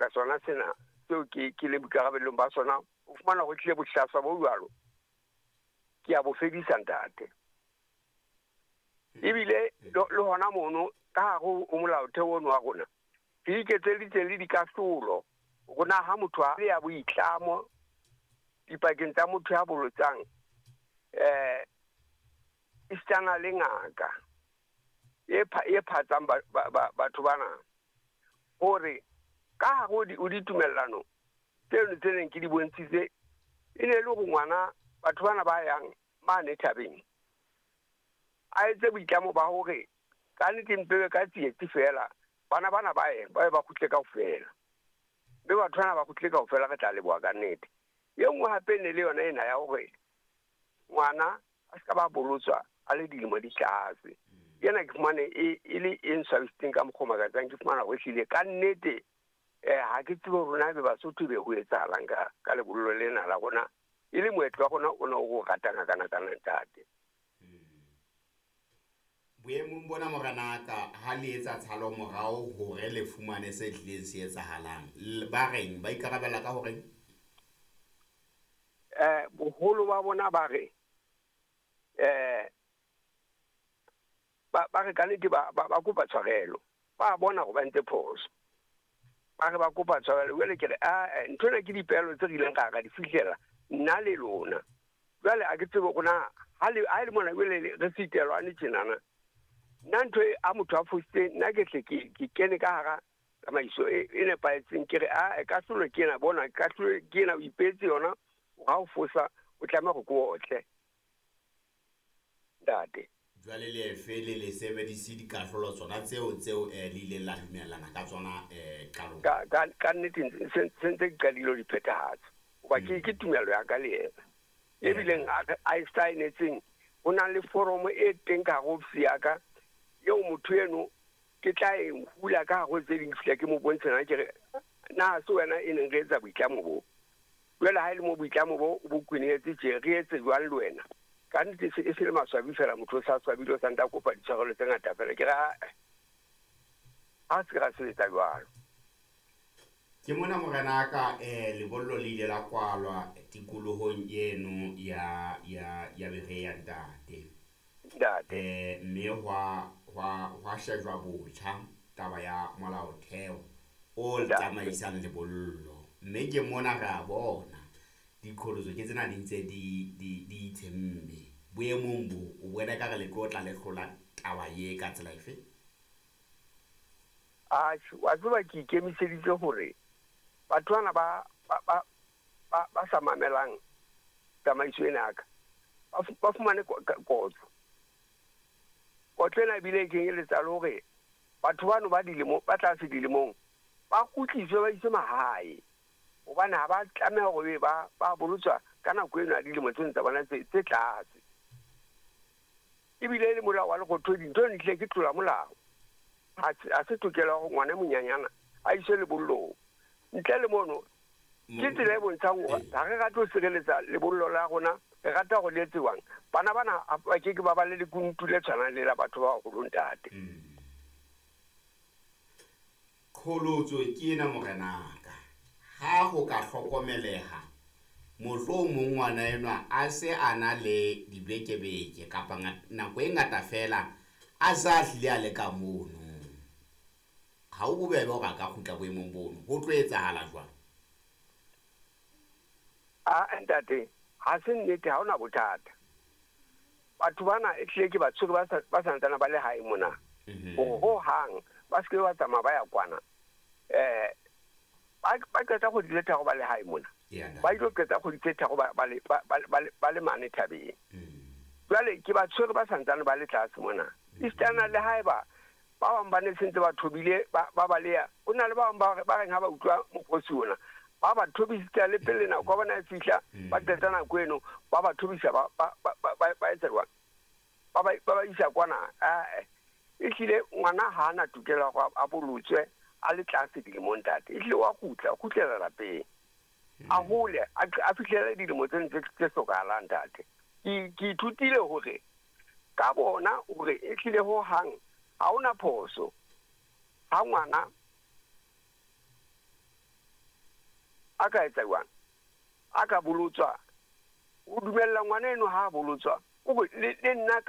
Sebaka sona sena seo ke ke le boikarabellong ba sona, o fumana ho tlile bohlaswa bo jwalo, ke a bo fedisa, ntate. Ebile le hona mono ka hare ho molaotheo ono wa rona, re iketseditse le dikahlolo rona ha motho a ya boitlamo dipakeng tsa motho ya bolotsang esitana le ngaka e phatsang batho bana, hore ka hare ho ditumellano tseno tse neng ke di bontshitse, e ne e le hore ngwana batho bana ba yang mane thabeng a etse boitlamo ba hore ka nnete mpebe ka tsietsi fela, bana bana ba ye ba kgutle kaofela, mme batho bana ba kgutle kaofela, re tla leboha ka nnete. E nngwe hape ne le yona ena ya hore ngwana a se ka ba bolotswa a le dilemo di tlase. Ena ke fumane e le e nswabisitseng ka mokgwa o makatsang. Ke fumana hore ehlile ka nnete ha ke tsebe hore na ebe Basotho ebe ho etsahalang ka lebollo lena la rona, e le moetlo wa rona o ne o ratang hakanakana, ntate. Boemong bona, morenaka, ha le etsa tshalo morao hore le fumane se tlileng se etsahalang, ba reng ba ikarabella ka horeng? Boholo ba bona ba re ba re ka nnete ba kopa tshwarelo, ba bona hore ba ntse phoso, ba re ba kopa tshwarelo. Jwale ke re a ntho ena ke dipehelo tse re ileng ra di fihlela nna le lona. Jwale a ke tsebe hore na ha le mona jwale re sitelwane tjenana, nna ntho e a motho a fositse, nna ke hle ke kene ka hara tsamaiso e nepahetseng, ke re a kahlolo ke ena, bona kahlolo ke ena, o ipetse yona, ha o fosa o tlameha hore ke otle, ntate. Jwale le efe le sebedise dikahlolo tsona tseo le ileng la dumellana ka tsona qalong? Ka nnete se ntse ke qadile ho di phethahatsa, hoba ke tumelo ya ka le yena ebileng a e saenetseng. Ho na le foromo e teng ka hare ofisi ya ka eo motho eno ke tla e hula ka hare ho tse ding, fihla ke mo bontshe na, ke re na se wena e neng re etsa boitlamo bo, jwale ha e le mo boitlamo bo o bo kwenehetse tje, re etse jwang le wena? Ka nnete e se le maswabi fela, motho o sa swabile, o sa ntse a kopa ditshwarelo tse ngata fela. Ke re ha se ra sebetsa jwalo. Ke mona, morenaka, lebollo le ile la kwalwa tikolohong eno ya Berea, ntate. Ntate. Mme hwa shejwa botjha taba ya molaotheo o tsamaisang lebollo, mme ke mona re a bona diqholotso ke tsena di ntse di itshemme. Boemong bo o bona ka re le tlo tla le hlola taba ye ka tsela efe? Atjhe, wa tseba ke ikemiseditse hore batho bana ba sa mamelang tsamaiso ena ya ka ba fumane kotlo. Kotlo ena ebile e kenyeletsa le hore batho bano ba dilemo ba tlase dilemong ba kgutliswe, ba iswe mahae, hobane ha ba tlameha hore ba bolotswa ka nako eno ya dilemo tseno tsa bona tse tlase. Ebile e le molao wa lekgotho, dintho di hlile ke tlola molao. Ha se tokelo ya hore ngwana e monyanyana a iswe lebollong. Ntle le mono ke tsela e bontshang hore ha re rate ho sireletsa lebollo la rona, re rata hore le etsewang. Bana bana ba ke ke ba ba le lekunutu le tshwanang le la batho ba baholo, ntate. Qholotso ke ena, morenaka, ha ho ka hlokomeleha mohlomong ngwana enwa a se a na le dibekebeke kapa nako e ngata fela a sa hlile a le ka mono, ha ho bobebe hore a ka kgutla boemong bono. Ho tlo etsahala jwang? A ntate, ha se nnete, ha hona bothata. Batho bana e hlile ke ba tshwere ba santsana ba le hae mona, hore ho hang ba se ke ba tsamaya ba ya kwana. Ba qeta kgwedi tse 3 ba le hae mona, ba ilo qeta kgwedi tse 3 ba le mane thabeng. Jwale ke ba tshwere ba santsane ba le tlase mona. Esitana le haeba ba bang ba ne sentse ba thobile ba baleha, ho na le ba bang ba reng ha ba utlwa mokgosi ona ba ba thobisitse le pele nako ya bona e fihla, ba qeta nako eno ba ba thobisa, ba etsa jwang, ba isa kwana. Ehlile ngwana ha ana tokelo ya hore a bolotswe a le tlase dilemong, ntate. Ehlile wa kgutla, o kgutlela lapeng, a hole, a fihlele dilemo tseno tse hlokahalang, ntate. Ke ithutile hore ka bona hore ehlile ho hang ha hona phoso ha ngwana A ka etsa jwang? A ka bolotswa. O dumella ngwana eno ha a bolotswa. O le nna